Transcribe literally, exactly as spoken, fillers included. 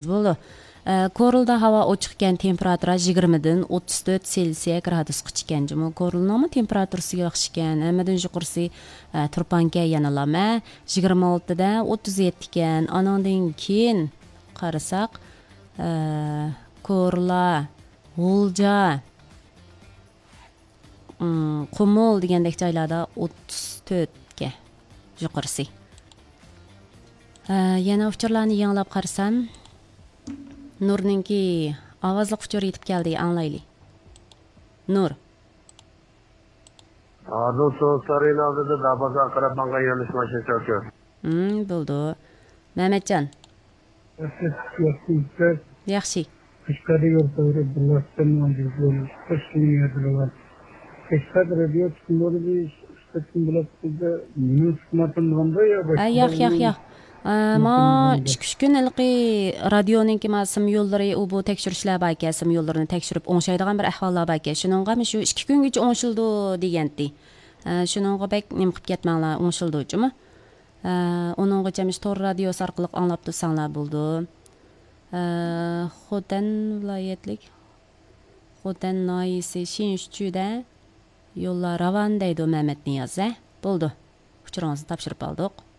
بولىدۇ. ئە، كورلىدا ھاۋا ئوچۇق ئىكەن، تېمپېراتۇرا يىگىرمىدىن ئوتتۇز تۆت سېلسىيە گرادۇسقىچە ئىكەن جۇمۇ. كورلىنىڭمۇ تېمپېراتۇرىسى ياخشى ئىكەن، ھەممىدىن يۇقىرىسى، ئە، تۇرپانكەن يەنىلا مە، يىگىرمە ئالتىدە ئوتتۇز يەتتە ئىكەن. ئانىڭدىن كېيىن قارىساق، ئە، كورلا، غۇلجا، ئىم، قۇمۇل دېگەندەك جايلاردا ئوتتۇز تۆتكە يۇقىرىسى. ئە، يەنە ئۇچۇرلارنى يېڭىلاپ قارىسام، نۇرنىڭكى ئاۋازلىق ئۇچۇرى يېتىپ كەلدى، ئاڭلايلى. نۇر. ھازىر سۇ سارىيىنىڭ ئالدىدا دارۋازىغا قاراپ ماڭغان يۆنىلىش ماشىنىسى ئۇچۇر. ھىم، بولىدۇ. مەمەتجان. ياخشى. قەشقەردە يول تەۋرەپ بىرلەشتىن قەشقەر رادىيو تۇتقۇنلىرى بىر ئىككى قېتىم بولۇپ، بىزدە نېمە تۇتماپتىمىغاندا يا ھە، ياق، ياق، ياق. ئە، ما ئىككى ئۈچ كۈن ھېلىقى رادىيونىڭكى ما سىم يوللىرى، ئۇ بۇ تەكشۈرۈشلەر باركەن، سىم يوللىرىنى تەكشۈرۈپ ئوڭشايدىغان بىر ئەھۋاللار باركەن. شۇنىڭغا مۇشۇ ئىككى كۈنگىچە ئوڭشىلىدۇ دېگەنتى. ئە، شۇنىڭغا بەك نېمە قىلىپ كەتمەڭلار، ئوڭشىلىدۇ جۇمۇ. ئە، ئۇنىڭغىچە مۇشۇ تور رادىيوسى ئارقىلىق ئاڭلاپ تۇرساڭلار بولىدۇ. ئە، خوتەن ۋىلايەتلىك، خوتەن ناھىيەسى شىنشۇچۈدە يوللار راۋان دەيدۇ مەمەت نىياز، ھە؟ بولىدۇ. ئۇچۇرىڭىزنى تاپشۇرۇپ ئالدۇق.